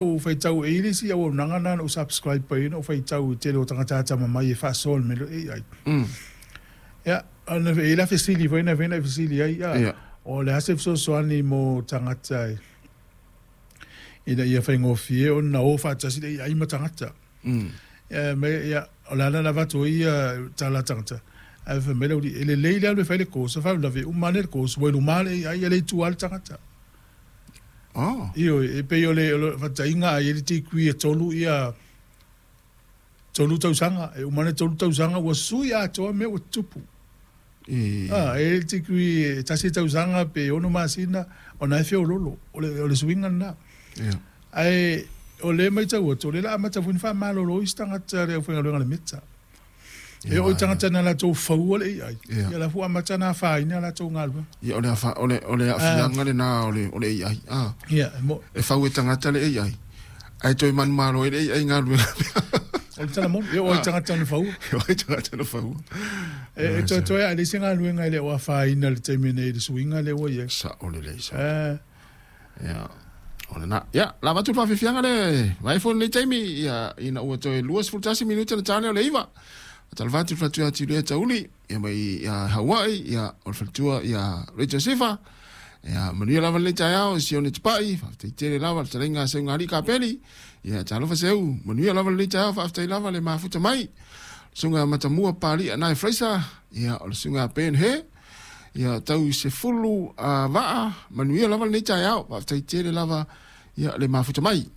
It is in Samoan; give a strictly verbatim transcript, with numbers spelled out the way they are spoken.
Ou faitau e i le isi auaunaga lena na ou subscribe ai na ou faitau i le tele o tagata atamamai e faasoa i le mea lea o le A I. Mm. Ia, ona e i ai la fesili foi na fai na e fesili ai, Ia. O le a se fesoasoani mo tagata e ina ia faigofie ona o faatasi le A I ma tagata. Mm. Ia, me, ia, o le ala na avatu ai ia tala a tagata. Ae fai mai le aualii, e lelei le alu e fai le course, faalavelave uma ane le course, ua i luma le A I, e le i tua le tagata. Oh. Ioe, e pei o le, o le faataiga a i ai le degree e tolu ia tolu tausaga, e uma ane tolu tausaga ua sui atoa mea ua tutupu. E... Ah, e le degree e tasi tausaga pe ono masina, ona e feololo, o le, o le suiga lena. Ia. Ae o lea e matau atu, o lea o le a amata foi ona faamalolo isi tagata le aufaigaluega a le Meta. E oo i tagata na latou faua le A I, Ia. ia la ua amata ona afaina latou galuega. Ia, o le afa, o le o le aafiaga lena o le o le A I. Ah. Ia, e mo, E fau e tagata le A I. Ae toe manumalo ai le A I galuega. O le tala moni, e oo i tagata na faua. E oo i tagata na faua. E, e toe toe a le isi galuega e le o afaina i le taimi nei i le suiga lea ua i ai. Sao lelei sao. Eh, Ia. O lena. Ia, la avatu le faafiafiaga le vai foi lenei taimi ia ina ua toe luasefulu tasi minute na ta lea o le iva. Faatalofa atu i le faletua ia Tilea Tauli ia mai ia Hauai ia o le faletua ia Rachel Sifa. Ia manuia lava lenei taeao i Sione Tapai, faafetai tele lava le fetalaiga a Seugalii Kapeli. Ia talofa seu, manuia lava lenei taeao, faafetai lava le mafuta mai. Susuga Matamua Palia nai Fraser, ia o le susuga Ben He. Ia tau se fulu uh, vaa, manuia lava lenei taeao, faafetai tele lava ia le mafuta mai.